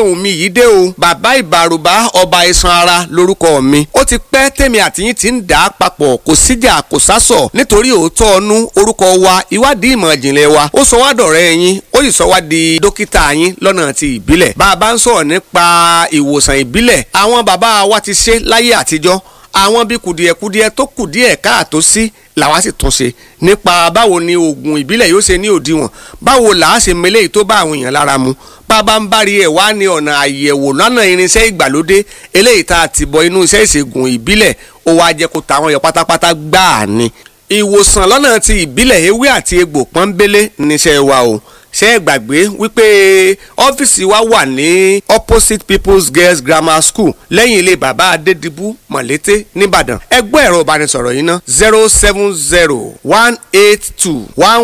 Ohun mi yìí dé o, bàbá ìbàrùbá, ọba iṣan ara lórúkọ mi. Ó ti pẹ́ tèmi àtìyín ti ń dà á papọ̀, kò síjà kò sásọ̀, nítorí òótọ́ ọnú orúkọ wa, ìwádìí ìmọ̀ ìjìnlẹ̀ wa, ó sọ wá dọ̀rẹ́ yín, ó sì sọ wá di dókítà yín lọ́nà ti ìbílẹ̀. Bá a bá ń sọ̀rọ̀ nípa ìwòsàn ìbílẹ̀, àwọn bàbá wa ti ṣe láyé àtijọ́. Àwọn bíi kùdìẹ̀kudiẹ tó kù díẹ̀ káàtó sí làwa sì tún ṣe nípa báwo ni oògùn ìbílẹ̀ yóò ṣe ní òdiwọ̀n, báwo là á ṣe mele tó bá àwọn èèyàn lára mu. Bàbá ń bárí ẹ̀ wá ní ọ̀nà àyẹ̀wò lọ́nà irinṣẹ́ ìgbàlódé eléyìí tá a ti bọ inú iṣẹ́ ìṣègùn ìbílẹ̀, ó wá jẹ́ kó tàwọn yọ pátápátá gbáà ni. Ìwòsàn lọ́nà ti ìbílẹ̀, ewé àti egbò pọ́nbélé níṣẹ́ wa o. Ṣé ẹ gbàgbé wípé ọ́fíìsì wa wà ní opposite People's Girls Grammar School, lẹ́yìn ilé bàbá Adédìbú, Mọ̀lété nìbàdàn? Ẹ gbọ́ ẹ̀rọ ìbánisọ̀rọ̀ yìí ná: 070 182 1